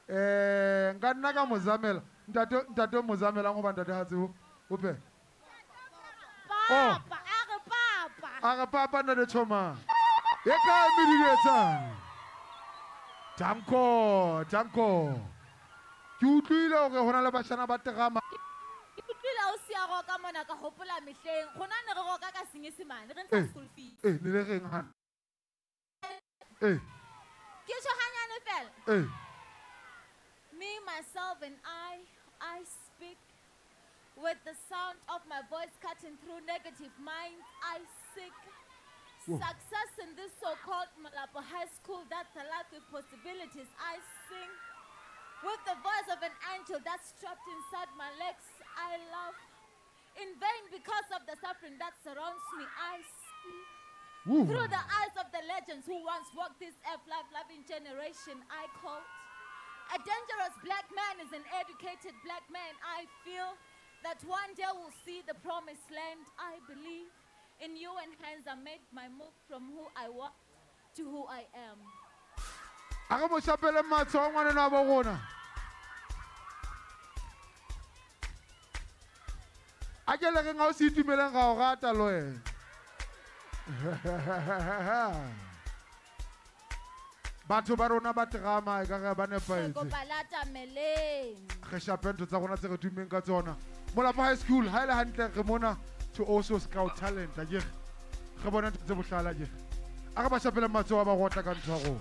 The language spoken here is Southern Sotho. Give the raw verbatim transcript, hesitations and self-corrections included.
Eh nka nna ka mozamela. Ntate ntate mozamela go ba ntate ha tseo. Ope. Papa, a re papa. A re papa ntate Choma. E ka mediketsang. Tanko, tanko. Ke utlwile hore hona le bashana ba terama. Ke utlwile o sia roka mona ka hopola mehleng. Rona ne re roka ka Senyesemane, re ntsha school fees. Eh, ne le reng ha? Eh. Ke tjho hanyane fela. Eh. Me, myself and I, I speak with the sound of my voice cutting through negative minds. I seek Whoa. Success in this so-called Molapo High School that's alive with possibilities. I sing with the voice of an angel that's trapped inside my legs. I love in vain because of the suffering that surrounds me. I see Ooh. Through the eyes of the legends who once walked this earth, life-loving generation. I quote, a dangerous black man is an educated black man. I feel that one day we'll see the promised land. I believe in you, and hence I made my move from who I was to who I am. A re mo shapele matsoho ngwana wa bo rona. A ke le reng ha o se itumeleng ga o rata le wena. Batho ba rona ba terama e ka re ba nepahetse. Kopa lata meleng. Re shape ntho tsa rona tse re tummeng ka tsona. Molapo High School ha ile hantle re mona to also scout talent akere. Re bona ntho tse bohlale akere. A re ba shapele matsoho ba rotla ka ntho ya rona.